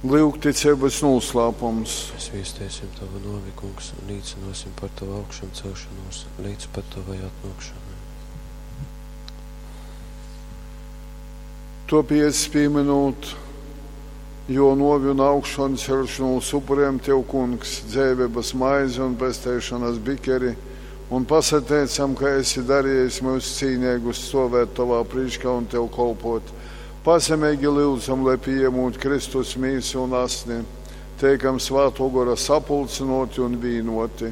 Lyugticeibys nūslāpums. Mēs viesteisim Tavu nuovi, Kungs, un līcynuosim par Tavu augšamceļšonūs leidz pat Tovai atnuokšonai. Tuopiec, pīmynūt Juo nuovi un augšonceļšonūs, upurejam Tev, Kungs, dzeiveibys maizi un pesteišonys bikeri, un pasateicam, ka esi dariejis myus cīneigus stuovēt Tovā prīškā un Tev kolpuot. Pazemeigi lyudzam, lai pījamūt Kristus mīsu un asni, teikam Svātuo Gora sapulcynuoti un vīnuoti.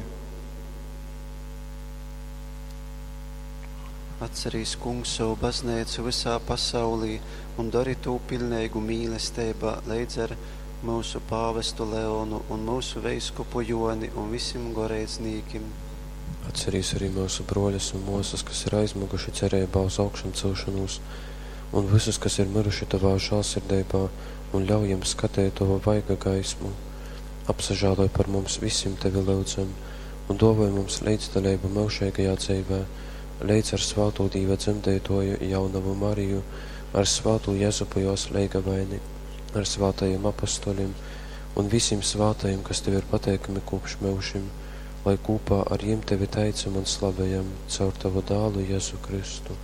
Atcerīs, Kungs, sovu bazneicu vysā pasaulī un dori tū piļneigu mīlesteibā leidz ar myusu pāvestu Leonu un myusu veiskupu Jōni un visim goreidznīkim. Atcerīs arī myusu bruoļus un muosys, kas ir aizmyguši cereibā uz augšamceļšonūs, un vysus, kas ir myruši Tovā žālsirdeibā, un ļauj jim skateit Tova vaiga gaismu. Apsažāloj par mums visim, Tevi lyudzam, un duovoj mums leidzdaleibu myužeigajā dzeivē, leidz ar svātū Dīva dzemdeituoju jaunovu Mariju, ar svātū Jezupu juos leigavaini, ar svātajim apostolim un visim svātajim, kas Tev ir pateikami kopš myužim, lai kūpā ar jim Tevi teicam un slavejam caur Tavu dālu Jezu Kristu.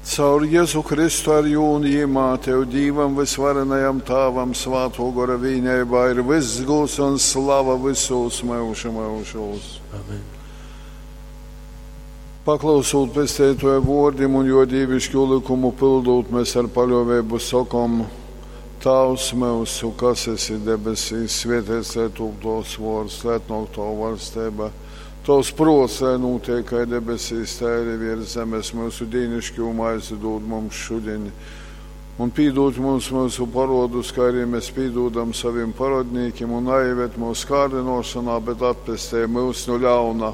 Caur Jezu Kristu ar jū un jimā Tev, Dīvam vysvarenajam Tāvam, Svātuo Gora vīneibā ir vyss gūds un slava vysūs myužu myužūs. Amen. Paklausūt Pesteituoja vuordim un juo dīviškū lykumu pyldūt, mēs ar paļuoveibu sokom: Tāvs myusu, kas esi debesīs, svētīts lai tūp tovs vuords, lai atnāk tova vaļsteiba. Tovs pruots, lai nūtiek kai debesīs, tai arī viers zemes. Myusu dīnišķū maizi dūd mums šudiņ. Un pīdūd mums myusu parodus, kā arī mēs pīdūdam savim parodnīkim, un naieved mūsu kārdinošanā, bet atpestej mūs no ļauna.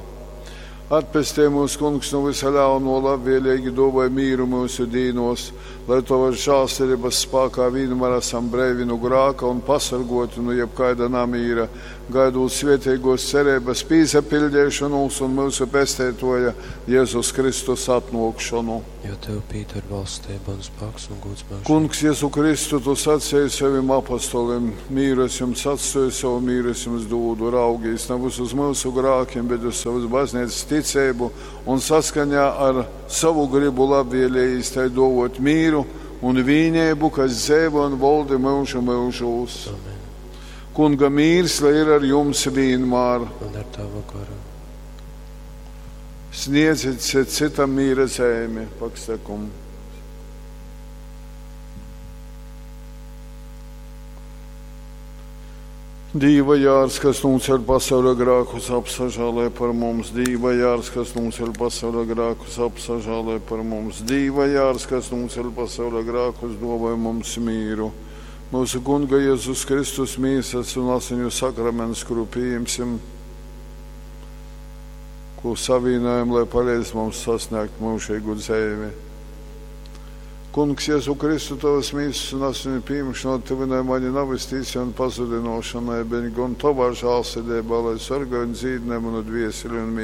Atpestej mūs, Kungs, no visa ļauno, labvēlīgi dāvāj mīru mūsu dīnos, lai Tavas žēlsirdības spēkā vienmēr esam breivi no grāka un pasargoti no jebkaida namīra, gaidot svētīgos cerības pīsapildīšanos un mūsu pesteitoja Jēzus Kristus atnākšanu. Jo Tev pīder valstība un spēks un gods myužīgi. Kungs, Jēzu Kristu, tu sacīji saviem apostoliem, mīru es jums atstāju, savu mīru es jums dodu, raugīs nevis uz mūsu grākiem, bet uz savas baznīcas ticību un saskaņā ar savu gribu labvēlējis tai dovot mīru un vīnību, kas dzēvo un valdi mūžu mūžūs. Amen. Kunga mīrs, lai ir ar jums vienmēr. Un ar Tavu garu. Sniedziet citam mīra zemi, paksakum. Dīva jārs, kas nūceļ pasauļa grākus, apsažālē par mums. Dīva jārs, kas nūceļ pasauļa grākus, apsažālē par mums. Dīva jārs, kas nūceļ pasauļa grākus, dāvāj mums mīru. Mūsu Kunga Jēzus Kristus mīsas un asiņu sakraments, kuru pieņemsim, ko savīnājam, lai palīdz mums sasniegt mūžīgu dzīvi. Kungs, Jēzu Kristu, tavas mīsas un asiņu pieņemšana tuvinai mani nav tīci un pazudinošanai, bet gan tavā žālsirdībā, lai sargāj un dzīdinē manu dvieseli un mīsu.